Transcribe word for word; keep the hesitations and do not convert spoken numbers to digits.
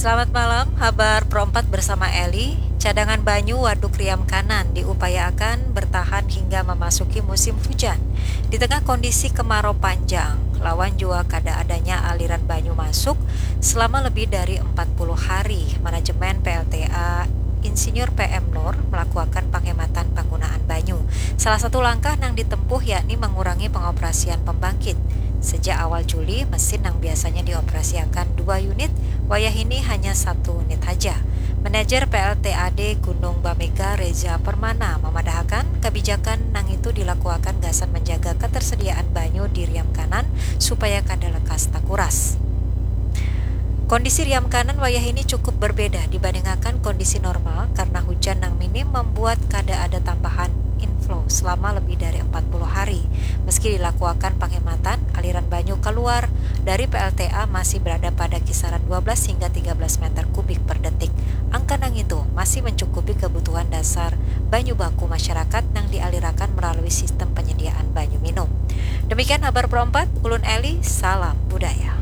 Selamat malam, habar Pro empat bersama Eli. Cadangan banyu Waduk Riam Kanan diupayaakan bertahan hingga memasuki musim hujan. Di tengah kondisi kemarau panjang, lawan jua kada adanya aliran banyu masuk selama lebih dari empat puluh hari, manajemen P L T A Insinyur P M Nur melakukan penghematan penggunaan banyu. Salah satu langkah nang ditempuh yakni mengurangi pengoperasian pembangkit. Sejak awal Juli, mesin nang biasanya dioperasiakan dua unit, wayahini hanya satu unit haja. Manajer P L T A D Gunung Bamega Reza Permana mamadahakan, kebijakan nang itu dilakuakan gasan menjaga ketersediaan banyu di Riam Kanan supaya kada lekas takuras. Kondisi Riam Kanan wayahini cukup berbeda dibandingakan kondisi normal karena hujan nang minim membuat kada ada tambahan inflow selama lebih dari empat puluh hari. Meski dilakuakan penghematan, aliran banyu keluar dari P L T A masih berada pada kisaran dua belas hingga tiga belas meter kubik per detik. Angka nang itu masih mencukupi kebutuhan dasar banyu baku masyarakat nang dialirakan melalui sistem penyediaan banyu minum. Demikian habar Pro empat, ulun Eli, salam budaya.